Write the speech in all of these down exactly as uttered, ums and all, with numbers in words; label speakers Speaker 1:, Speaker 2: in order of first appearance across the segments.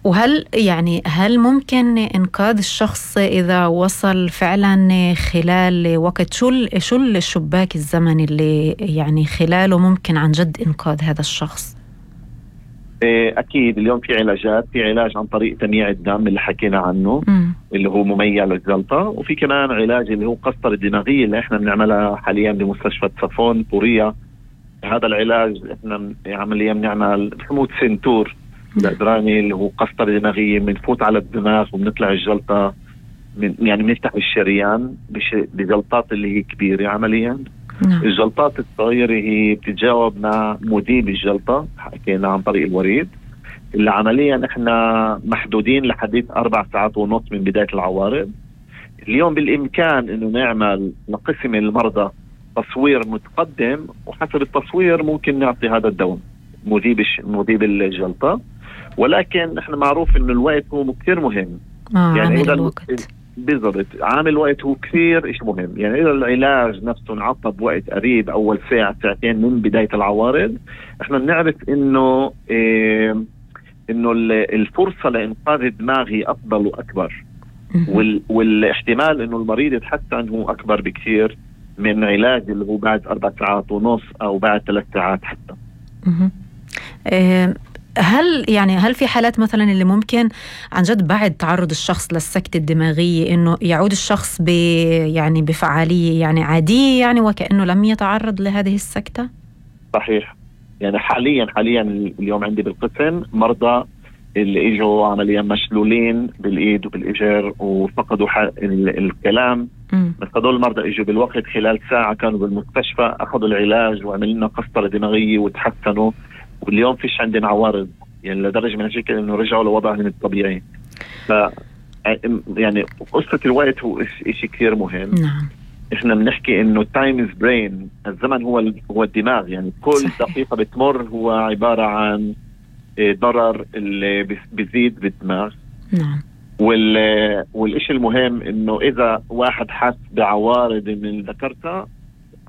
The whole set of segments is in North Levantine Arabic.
Speaker 1: وهل يعني هل ممكن إنقاذ الشخص إذا وصل فعلا خلال وقت شو شو الشباك الزمني اللي يعني خلاله ممكن عن جد إنقاذ هذا الشخص؟
Speaker 2: أكيد اليوم في علاجات، في علاج عن طريق تمييع الدم اللي حكينا عنه م. اللي هو مميع للجلطة، وفي كمان علاج اللي هو قسطرة الدماغية اللي احنا بنعملها حاليا بمستشفى صفون بورية. هذا العلاج احنا عمليا بنعمل حموض سنتور الأدراني اللي هو قسطرة دماغية، بنفوت على الدماغ وبنطلع الجلطة من يعني بنفتح الشريان بجلطات اللي هي كبيرة عمليا. نعم. الجلطات الصغيرة هي بتتجاوب مع مذيب الجلطة حكينا عن طريق الوريد اللي عمليا احنا محدودين لحديث أربع ساعات ونص من بداية العوارض. اليوم بالإمكان انه نعمل لقسم المرضى تصوير متقدم، وحسب التصوير ممكن نعطي هذا الدواء مذيب مذيب الجلطة، ولكن احنا معروف انه الوقت هو كثير مهم.
Speaker 1: آه يعني إذا الوقت
Speaker 2: بالضبط عامل وقت هو كثير إشي مهم. يعني إذا العلاج نفسه انعطى بوقت قريب أول ساعة ساعتين من بداية العوارض، إحنا بنعرف إنه إيه إنه الفرصة لإنقاذ الدماغ هي أفضل وأكبر، وال والاحتمال إنه المريض يتحسن هو أكبر بكثير من علاج اللي هو بعد أربع ساعات ونص أو بعد ثلاث ساعات حتى.
Speaker 1: إيه هل يعني هل في حالات مثلا اللي ممكن عن جد بعد تعرض الشخص للسكتة الدماغية إنه يعود الشخص ب يعني بفعالية يعني عادية يعني وكأنه لم يتعرض لهذه السكتة؟
Speaker 2: صحيح. يعني حاليا حاليا اليوم عندي بالقسم مرضى اللي اجوا عمليا مشلولين بالإيد وبالإجر وفقدوا الكلام. م. بس هذول المرضى اجوا بالوقت خلال ساعة كانوا بالمستشفى أخذوا العلاج وعملنا قسطرة دماغية وتحسنوا، واليوم فيش عندنا عوارض يعني لدرجة من هالشكل انه رجعوا لوضعهم الطبيعي. ف يعني قصة الوقت هو اشي كثير مهم.
Speaker 1: نعم.
Speaker 2: احنا بنحكي انه time is brain، الزمن هو هو الدماغ. يعني كل صحيح. دقيقة بتمر هو عبارة عن ضرر اللي بيزيد بالدماغ.
Speaker 1: نعم.
Speaker 2: وال والاشي المهم انه اذا واحد حس بعوارض من اللي ذكرتها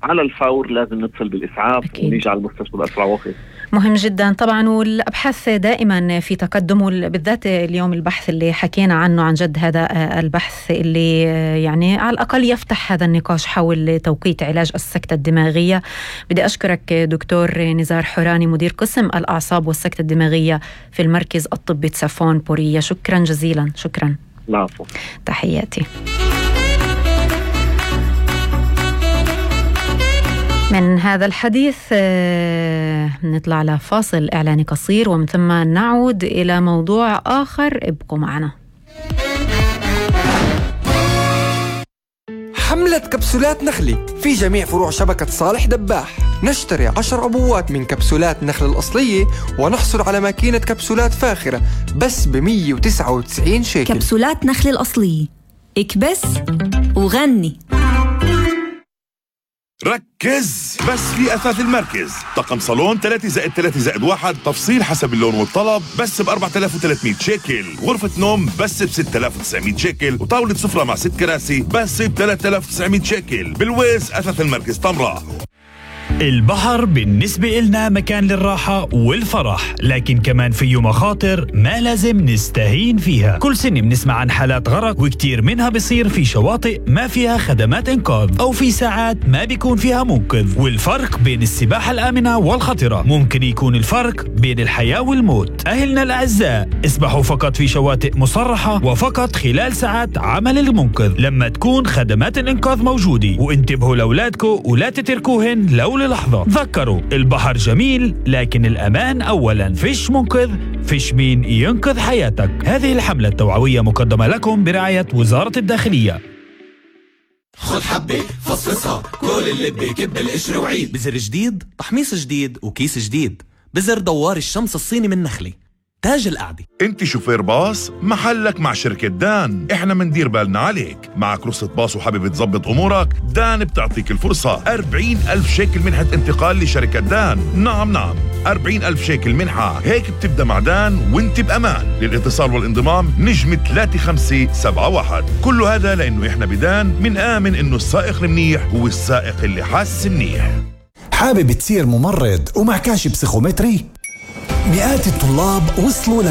Speaker 2: على الفور لازم نتصل بالإسعاف ونيجي على المستشفى بأسرع وقت.
Speaker 1: مهم جدا طبعا، والأبحاث دائما في تقدم، بالذات اليوم البحث اللي حكينا عنه عن جد هذا البحث اللي يعني على الأقل يفتح هذا النقاش حول توقيت علاج السكتة الدماغية. بدي أشكرك دكتور نزار حوراني مدير قسم الأعصاب والسكتة الدماغية في المركز الطبي صفون بورية، شكرا جزيلا. شكرا.
Speaker 2: العفو.
Speaker 1: تحياتي. من هذا الحديث نطلع لفاصل إعلاني قصير ومن ثم نعود إلى موضوع آخر، ابقوا معنا.
Speaker 3: حملة كبسولات نخلي في جميع فروع شبكة صالح دباح. نشتري عشر أبوات من كبسولات نخل الأصلية ونحصل على ماكينة كبسولات فاخرة بس بمية وتسعة وتسعين شيكل.
Speaker 4: كبسولات نخل الأصلية، اكبس وغني.
Speaker 5: ركز بس في أثاث المركز، طقم صالون ثلاثة زائد ثلاثة زائد واحد، تفصيل حسب اللون والطلب بس ب أربعة آلاف وثلاثمية شيكل، غرفة نوم بس ب ستة آلاف وتسعمية شيكل، وطاولة سفرة مع ست كراسي بس ب ثلاثة آلاف وتسعمية شيكل. بالويز أثاث المركز طمرة.
Speaker 6: البحر بالنسبة إلنا مكان للراحة والفرح، لكن كمان فيه مخاطر ما لازم نستهين فيها. كل سنة بنسمع عن حالات غرق، وكتير منها بيصير في شواطئ ما فيها خدمات إنقاذ أو في ساعات ما بيكون فيها منقذ. والفرق بين السباحة الآمنة والخطرة ممكن يكون الفرق بين الحياة والموت. أهلنا الأعزاء، اسبحوا فقط في شواطئ مصرحة وفقط خلال ساعات عمل المنقذ لما تكون خدمات الإنقاذ موجودة، وانتبهوا لأولادكم ولا تتركوهن لو لحظة. تذكروا البحر جميل لكن الأمان أولا. فيش منقذ فيش مين ينقذ حياتك. هذه الحملة التوعوية مقدمة لكم برعاية وزارة الداخلية.
Speaker 7: خد حبة فصفصها، كل اللي بكب القشر وعيد.
Speaker 8: بزر جديد، تحميص جديد، وكيس جديد. بزر دوار الشمس الصيني من نخلي، تاج القعدة.
Speaker 5: انت شوفير باص، محلك مع شركة دان. احنا مندير بالنا عليك. معك رخصة باص وحابب تظبط امورك؟ دان بتعطيك الفرصة أربعين ألف شيكل منحة انتقال لشركة دان. نعم نعم أربعين ألف شيكل منحة. هيك بتبدأ مع دان وانت بأمان. للاتصال والانضمام نجم ثلاثة خمسة سبعة واحد. كل هذا لأنه احنا بدان من آمن انه السائق المنيح هو السائق اللي حاس منيح.
Speaker 9: حابب تصير ممرض ومع كاشف بسيخومتري؟ مئات الطلاب وصلوا